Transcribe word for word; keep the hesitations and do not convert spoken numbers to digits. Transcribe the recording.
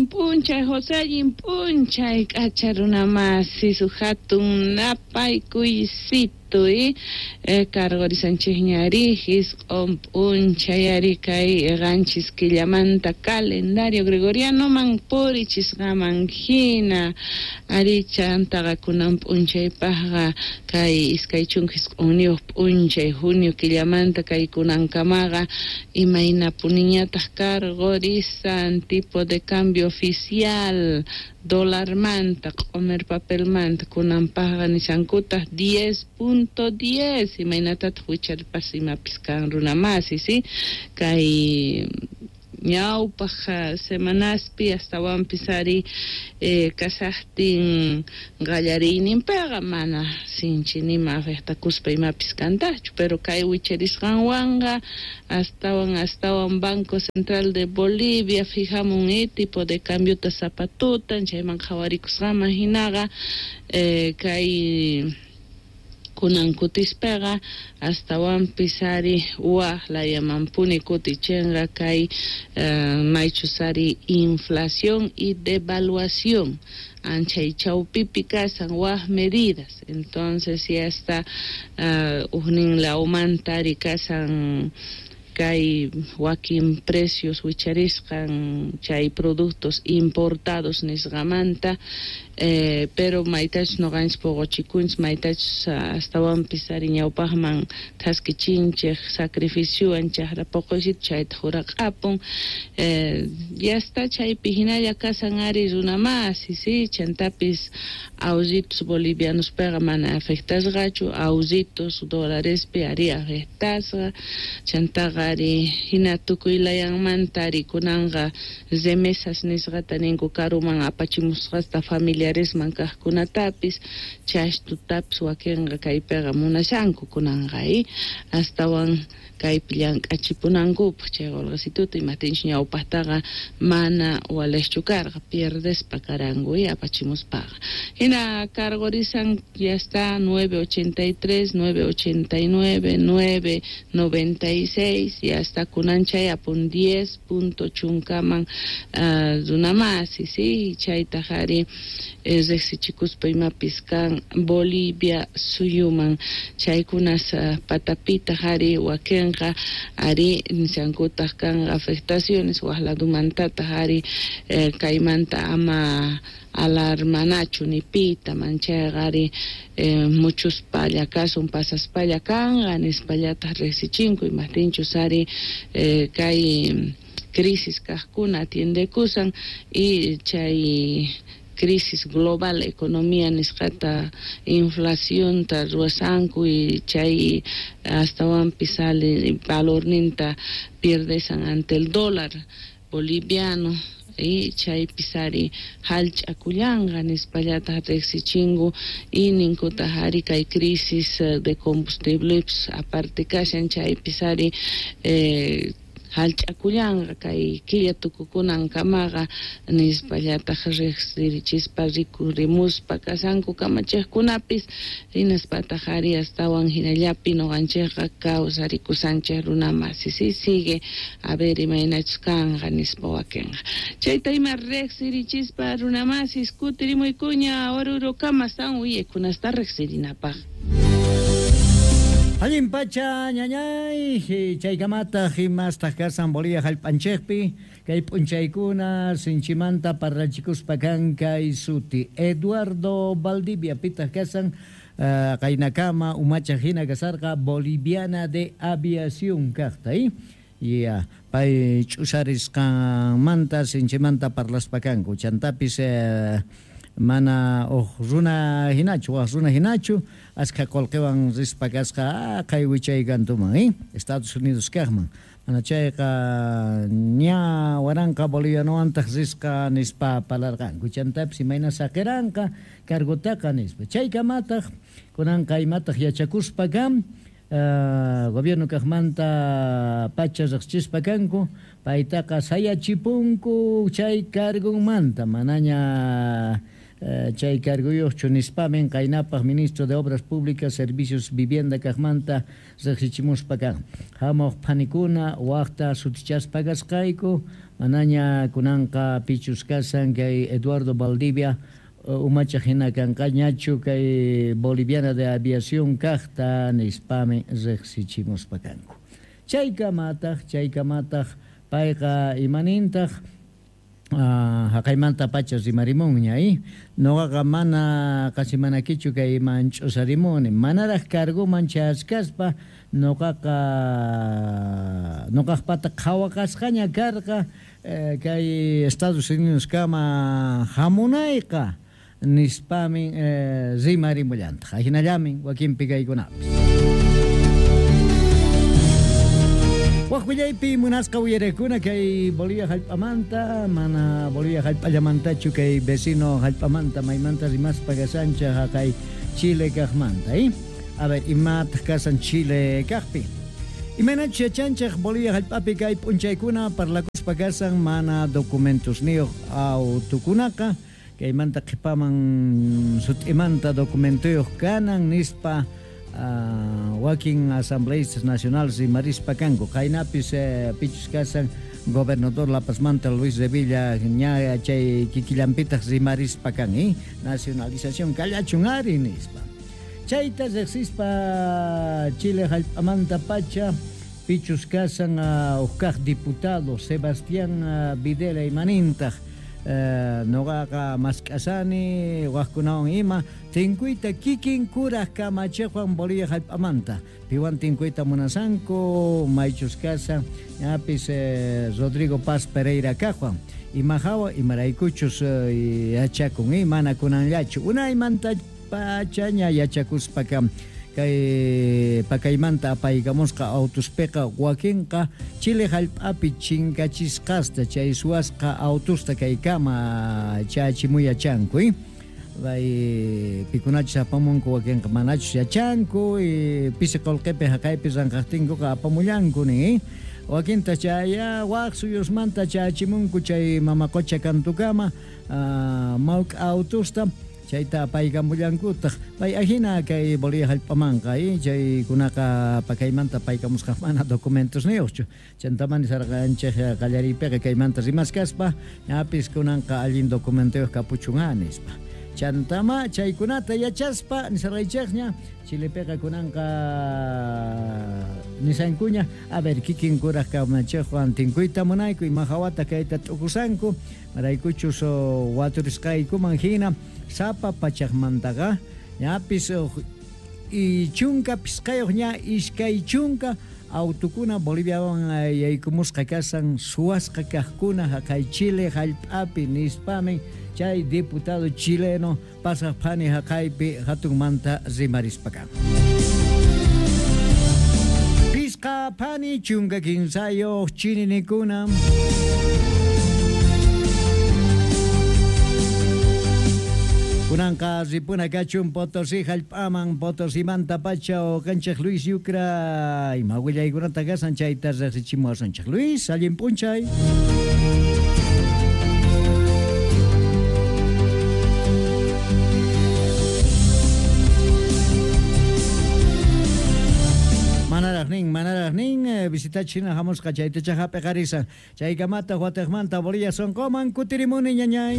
Allin p'unchay, José, allin p'unchay, k'acha runa masi, hatun napaykuysito y eh, cargorisanchikñari isq'un p'unchay ari kay qanchis killamanta calendario gregorianoman purichisqaman hina ari chantaqa kunan p'unchaypaqqa kay iskay chunka isq'unniyuq p'unchay junio killamanta kay kunankamaqa imaynapuniñataq cargorisan tipo de cambio oficial dólarmanta q'umir papelmanta kunanpaqqa nishankutaq diez punto diez imaynatataq wicharpas imapis kan runa masi, sí, kay ñawpaq semanaspi astawanpis ari eh, kasaqtin qallariyninpiqa mana sinchi nima afectakuspa imapis kantaqchu, pero kay wicharisqanwanqa astawan astawan Banco Central de Bolivia fijamun eh, tipo de cambiota sapatutan chayman qhawarikusqaman hinaqa eh, kay kunan kutispaqa astawanpis ari waq layamanpuni kutichinqa kay uh, maychus ari inflación y devaluación anchay chawpipi kasan waq medidas. Entonces ya está uh, ujnin lawmanta ari kasan kay wakin precios wicharisqan chay productos importados nisqamanta eh, pero maytachus nuqanchis puquchikunchis maytachus astawanpis ari ñawpaqman thaskichinchik sacrificiowan chaqra puquysitu chayta huraq'apun eh, ya está chaypi hinalla kasan ari runa masi, sí, chantapis ahorritos bolivianospiqa mana afectasqachu, ahorritos dólarespi ari afectasqa chantaqa ari hina tukuy layanmanta ari kunanqa remesas nisqata ninku karuman apachimusqasta familiaresman kaqkunatapis chashtutapis wakinqa kaypiqa munashanku kunanqa eh, astawan kaypi llank'achipunankupaq chay qulqisituta imaptinchus ñawpaqtaqa mana waliqchu karqa pierdespa karanku eh, apachimuspaqa hina cargorisan ya está nueve ochenta y tres, nueve ochenta y nueve, nueve noventa y seis ya está kunan chay apun diez punto chunkaman uh, runamasi, sí, chaytaq ari eh, riqsichikuspa imapis kan Bolivia suyuman chaykunas uh, patapitaq ari wakinqa ari nishankutaq kan afectaciones waq ladumantataq ari eh, kaymanta ama alarmanachu ni pita manchayqa ari eh, muchuspalla kasun pasaspalla kanqa nispallataq riqsichinku imaptinchus ari eh, kay crisis kaqkuna atiendekusan y chay crisis global economía nisqata inflacionta ruwasanku y chay astawanpis sale valorninta pierdesan ante el dólar boliviano y chaypis ari hallch'akullanqa nispallataq riqsichinku y ninkutaq ari kay crisis de combustibles aparte kashan chaypis ari eh, hallch'akullanqa kay killa tukukunankamaqa nispallataq riqsirichispa rikurimuspa kasanku kamachiqkunapis hinaspataq ari astawan hinallapi nuqanchikqa kawsarikusanchik runa masi, sí, sigue a ver imaynachus kanqa nispa wakinqa chayta ima riqsirichispa runa masis kutirimuykuña Orurokama astawan uyaykunasta riqsirinapaq. Allin pacha ñañay chaykamataq imastaq kasan Bolivia hallp'anchikpi kay p'unchaykuna sinchimanta parlachikuspa kan kay suti Eduardo Valdivia pitaq kasan uh, qaynakama umachaq hina kasarqa Boliviana de Aviación kaqta eh? Ya pay ch'usarisqanmanta sinchimanta parlaspa kanku chantapis eh, mana uq runa hinachu waq runa hinachu askha qullqiwan rispa kasqa kay wichay kantuman eh? Estados Unidos kaqman mana chayqa ña waranqa bolivianoantaq risqa nispa parlarqanku chantapis imayna saqiranqa cargotaqa nispa chaykamataq kunanqa imataq yachakuspa kan uh, gobierno kaqmanta pacha riqsichispa kanku paytaqa sayachipunku chay cargonmanta manaña chay carguyuqchu nispamin qaynapaq ministro de Obras Públicas, Servicios, Vivienda kaqmanta riqsichimuspa kan. Hamuq phanikuna waqta sutichaspa kasqayku manaña kunanqa pichus kasan kay Eduardo Valdivia umachaq hina kanqañachu kay Boliviana de Aviación kaqta nispamin riqsichimuspa kanku. Chaykamataq chaykamataq payqa imanintaq haqaymanta pacha rimarimunña eh? Noqaqa mana qasimanakichu kay manch'usarimuni manaraq carguman chayachkaspa noqaqa noqaqpata qhawaqasqaña karqa eh, kay Estados Unidos kama hamunayqa nispamin eh, rimarimullantaq ahinallamin wakinpi kaykunapis. Waq willaypi munasqa uyarekuna kay Bolivia hallp'amanta mana Bolivia hallp'allamantachu kay vecino hallp'amanta maymanta rimaspa kasancha haqay Chile kaqmanta eh? A ver, imataq kasan Chile kaqpi imaynachu yachanchaq Bolivia hallp'api kay p'unchaykuna parlakuspa kasan mana documentosniyuq autukunaqa kaymanta qhipaman sut'imanta documentoyuq kanan nispa Uh, wakin asambleístas nacionales rimarispa kanku qaynapis eh, pichus kasan gobernador La Pazmanta Luis Revilla ña chay kikillanpitaq rimarispa kan eh? Nacionalización kallachun ari nispa chayta riqsispa Chile hallp'amanta pacha pichus kasan uh, uqkaq diputado Sebastián uh, Videla imanintaq Uh, noqaqa mask'asani waqkunawan ima tinkuyta kikin kuraq kamachiqwan Bolivia hallp'amanta piwan tinkuyta munasanku maychus kasan ñapis eh, Rodrigo Paz Pereira kaqwan imahawa imaraykuchus eh, yachakun eh, mana kunanllachu unaymanta pachaña yachakuspa kam kay pakaymanta apaykamusqa autuspiqa wakinqa Chile hallp'api chinkachisqasta chay suwasqa autusta kaykama chachimuyachanku eh? Bay pikunachus apamunku wakinqa manachus yachanku y pisi qullqipi haqaypi ranqaqtinkuqa apamullanku nin eh? Wakinta chaya waq suyusmanta chachimunku chay mama qucha kantukama uh, mawk'a autusta chayta apaykamullankutaq pay ahina kay Bolivia hallp'amanqa eh? Chaykunaqa pakaymanta apaykamusqa mana documentos niyuqchu chantamani sarqanchik qallariypiqa kaymanta rimaskaspa ñapis kunanqa allin documentoyuq kapuchun a nispa chantama chaykunata yachaspa nisarqaychikña Chilepiqa kunanqa nisankuña a ver kikin kuraq kamachiqwan tinkuyta munayku ima hawata kayta t'ukusanku maraykuchus waturisqaykuman hina sapa pachaqmantaqa ñapis y chunka pisqayuq ña iskay chunka autukuna Boliviawan yaykumusqa kasan suwasqa kaqkuna haqay Chile hallp'api nispamin chay diputado chileno pasaq phani haqaypi hatunmanta rimarispa kan. Pisqa phani chunka kinsayuq chininikuna kunanqa ripuna kachun Potosí hallp'aman Potosimanta pacha uqanchik Luis Yucra ima willaykunata kasan chayta riqsichimuwasunchik. Luis, allin p'unchay. Manaraq nin, manaraq nin, visitachina hamusqa chaytacha hap'iqarisan chaykamata watiqmanta Bolivia sunquman kutirimuni ñañay.